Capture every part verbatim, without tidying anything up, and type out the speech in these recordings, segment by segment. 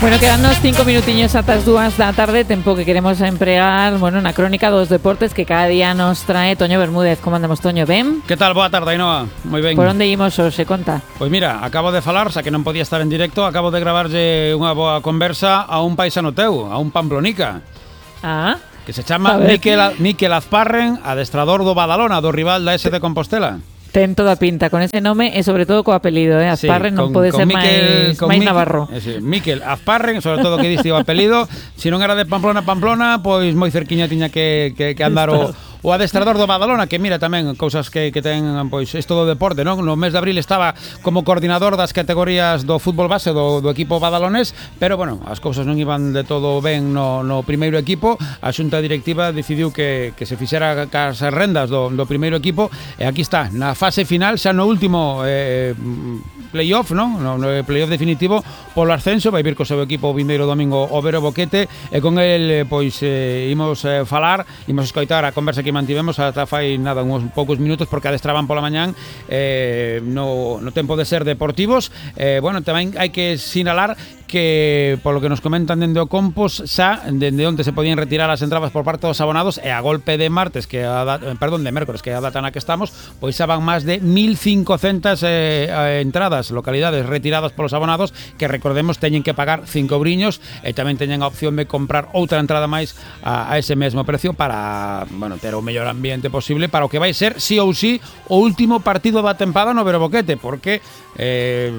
Bueno, quedannos cinco minutiños ata as dúas da tarde, tempo que queremos empregar, bueno, na crónica dos deportes que cada día nos trae Toño Bermúdez. Como andamos, Toño, ben? Que tal? Boa tarde, Ainhoa. Moi ben. Por onde imos hoxe, conta? Pois mira, acabo de falar, xa que non podía estar en directo, acabo de gravarlle unha boa conversa a un paisano teu, a un pamplonica. Ah, que se chama Miquel, Miquel Azparren, adestrador do Badalona, do rival da S de Compostela. Ten toda a pinta con ese nome e sobre todo co apelido, eh? Azparren sí, non pode ser Miquel, máis, máis Miquel, navarro. Eh, sí, Miquel Azparren, sobre todo que diste o apelido, se non era de Pamplona Pamplona, pois moi cerquiña tiña que, que, que andar o, o adestrador do Badalona, que mira tamén cousas que, que ten, pois isto do deporte, non? No mes de abril estaba como coordinador das categorías do fútbol base do, do equipo badalonés, pero bueno, as cousas non iban de todo ben no, no primeiro equipo. A xunta directiva decidiu que, que se fixera cas rendas do, do primeiro equipo, e aquí está, na fase final, xa no último eh, playoff, non? No, no playoff definitivo polo ascenso, vai vir co seu equipo o vindeiro domingo o Vero Boquete, e con el pois eh, imos eh, falar, imos escoitar a conversa que mantivemos ata fai nada, uns poucos minutos, porque adestraban pola mañán eh, no, no tempo de ser deportivos. Eh, bueno, tamén hai que sinalar que, polo que nos comentan dende o Compos, xa dende onde se podían retirar as entradas por parte dos abonados, e a golpe de martes, que a da, perdón, de mércores, que é a data na que estamos, pois xa van máis de mil cincocentas eh, entradas, localidades retiradas polos abonados, que recordemos teñen que pagar cinco briños, e tamén teñen a opción de comprar outra entrada máis a, a ese mesmo precio para, bueno, ter o mellor ambiente posible para o que vai ser, sí ou sí, o último partido da tempada no Vero Boquete, porque eh,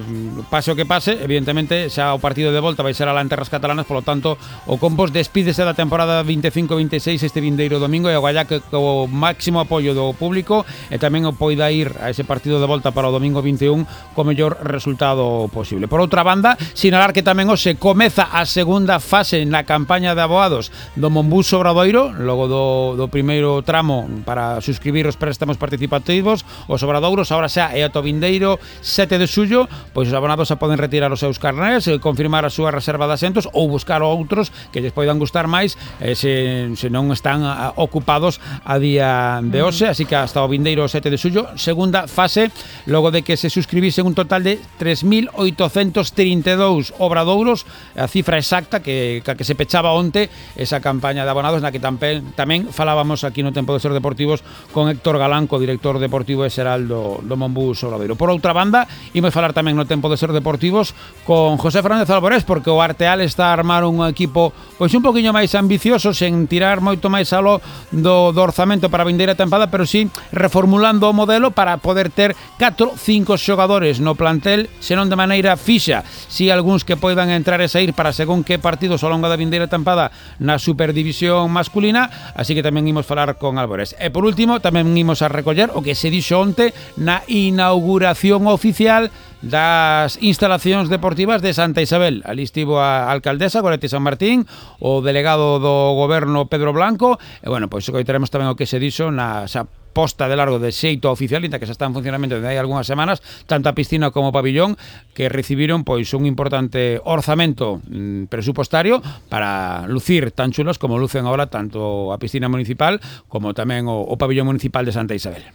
pase o que pase, evidentemente xa o partido de volta vai ser alá en terras catalanas, polo tanto o Compos despídese da temporada veinticinco veintiséis este vindeiro domingo, e agora que o máximo apoio do público e tamén o poida ir a ese partido de volta para o domingo vinte e un co mellor resultado posible. Por outra banda, sinalar que tamén hoxe comeza a segunda fase na campaña de abogados do Monbús Obradoiro, logo do, do primeiro tramo para suscribir os préstamos participativos, os obradoiros, agora xa é ato vindeiro sete de xullo, pois os abonados xa poden retirar os seus carnés, confirmar a súa reserva de asentos ou buscar outros que lles poidan gustar máis, eh, se, se non están a, ocupados a día de hoxe, así que hasta o vindeiro sete de xullo, segunda fase, logo de que se suscribisen un total de tres mil oitocentos trinta e dous obradouros, a cifra exacta que, que se pechaba onte esa campaña de abonados, na que tamén, tamén falábamos aquí no Tempo de Ser Deportivos con Héctor Galán, co director deportivo e xeral do, do Monbús Obradoiro. Por outra banda, imos falar tamén no Tempo de Ser Deportivos con José Fernández Alborés, porque o Arteal está a armar un equipo pois un poquinho máis ambicioso, sen tirar moito máis alo do, do orzamento para a vindeira tempada, pero sí reformulando o modelo para poder ter catro, cinco xogadores no plantel, senón de maneira fixa, si algúns que poidan entrar e sair para según que partidos ao longo da vindeira tempada na Superdivisión masculina, así que tamén imos falar con Alborés. E por último, tamén imos a recoller o que se dixo onte na inauguración oficial das instalacións deportivas de Santa Isabel. Ali estivo a alcaldesa Goretti San Martín, o delegado do goberno Pedro Blanco, e bueno, pois coitaremos tamén o que se dixo na xa posta de largo de xeito oficial, inta que xa está en funcionamento desde hai algunhas semanas, tanto a piscina como o pabillón, que recibiron pois un importante orzamento mm, presupostario para lucir tan chulos como lucen agora tanto a piscina municipal como tamén o, o pabillón municipal de Santa Isabel.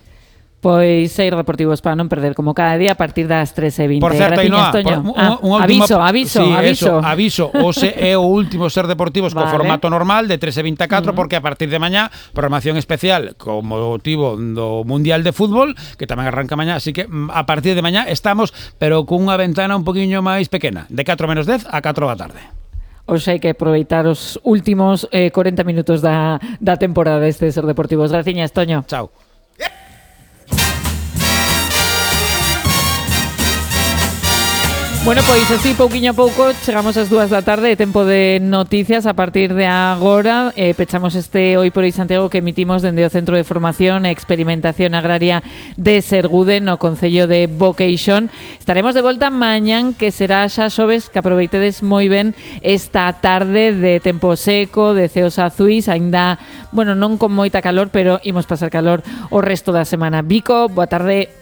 Pois Ser Deportivos para non perder como cada día a partir das tres e vinte. Por certo, Ainhoa, por, un, ah, un aviso, aviso, sí, aviso. Eso, aviso, hoxe é o último Ser Deportivos vale. Co formato normal de tres e vinte a catro, uh-huh. porque a partir de mañá programación especial con motivo do Mundial de Fútbol, que tamén arranca mañá, así que a partir de mañá estamos, pero cunha ventana un poquinho máis pequena, de catro menos dez a catro da tarde. Hoxe hai que aproveitar os últimos eh, corenta minutos da, da temporada deste Ser Deportivos. Graciñas, Toño. Chao. Bueno, pois así, pouquiño a pouco, chegamos ás dúas da tarde, tempo de noticias a partir de agora. Eh, pechamos este Hoy por Hoy Santiago que emitimos dende o Centro de Formación e Experimentación Agraria de Sergude, no Concello de Boqueixón. Estaremos de volta mañán, que será xa xoves, que aproveitedes moi ben esta tarde de tempo seco, de ceos azuis, aínda, bueno, non con moita calor, pero imos pasar calor o resto da semana. Vico, boa tarde.